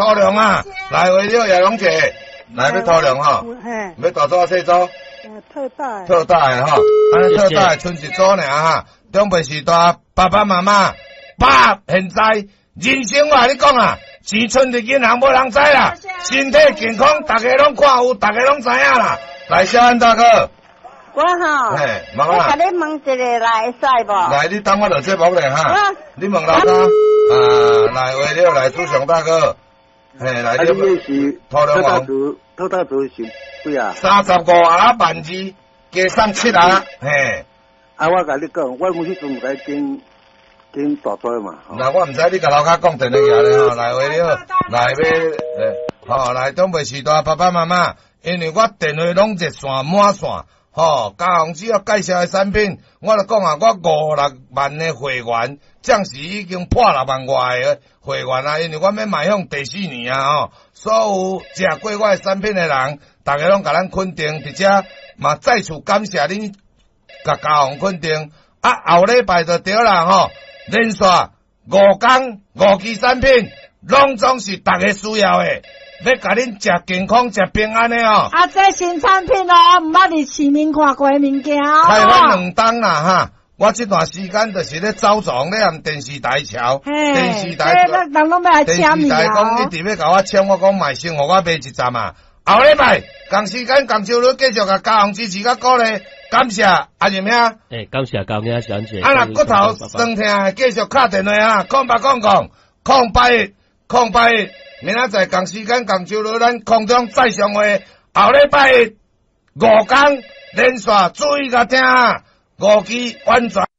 土龍啊，來為了葉龍姐，來欲土龍吼，欲大組細組？特大。特大的吼，按呢特大的賰一組爾哈，長輩序大，爸爸媽媽，爸現在人生我共你講啊，錢存佇銀行無人知啦，身體健康，逐家攏看有，逐家攏知影啦。來，小安大哥。我吼，我共你問一下來會使無？來，你等我落節目咧哈。你問老大啊，來為了來朱雄大哥，嘿，來。你是土龍王，特大組是幾啊？35啊12,000，加送七啊，嘿。啊，我共你講，我有彼陣有來跟跟大組嘛。那我毋知你共樓跤講電話咧吼，來為了來欲，吼來長輩序大爸爸媽媽，因為我電話攏熱線滿線。吼，嘉宏只要介紹的產品，我就講啊，我五六萬的會員，暫時已經破6萬外的會員啊，因為我欲邁向第四年啊，吼，所有食過我的產品的人，逐家攏共咱肯定，佇遮嘛再次感謝恁共嘉宏肯定。啊，後禮拜就對啦，吼，連續5工五支產品，攏總是逐家需要的。欲共恁食健康、食平安的哦。啊，這新產品哦，毋捌佇市面看過的物件哦。開發兩冬啦哈，我這段時間就是咧走傱，咧按電視台瞧，電視台，人攏欲來簽電視台講一直欲共我簽，我講嘛先予我賣一站啊。後禮拜仝時間仝周日繼續共嘉宏支持佮鼓勵，感謝阿仁兄。欸，感謝高兄小姐。啊，若骨頭酸疼，繼續敲電話啊，0800 008 10 081。明仔載仝時間仝周日，咱空中再相會。後禮拜五工連續注意共聽，五支完全。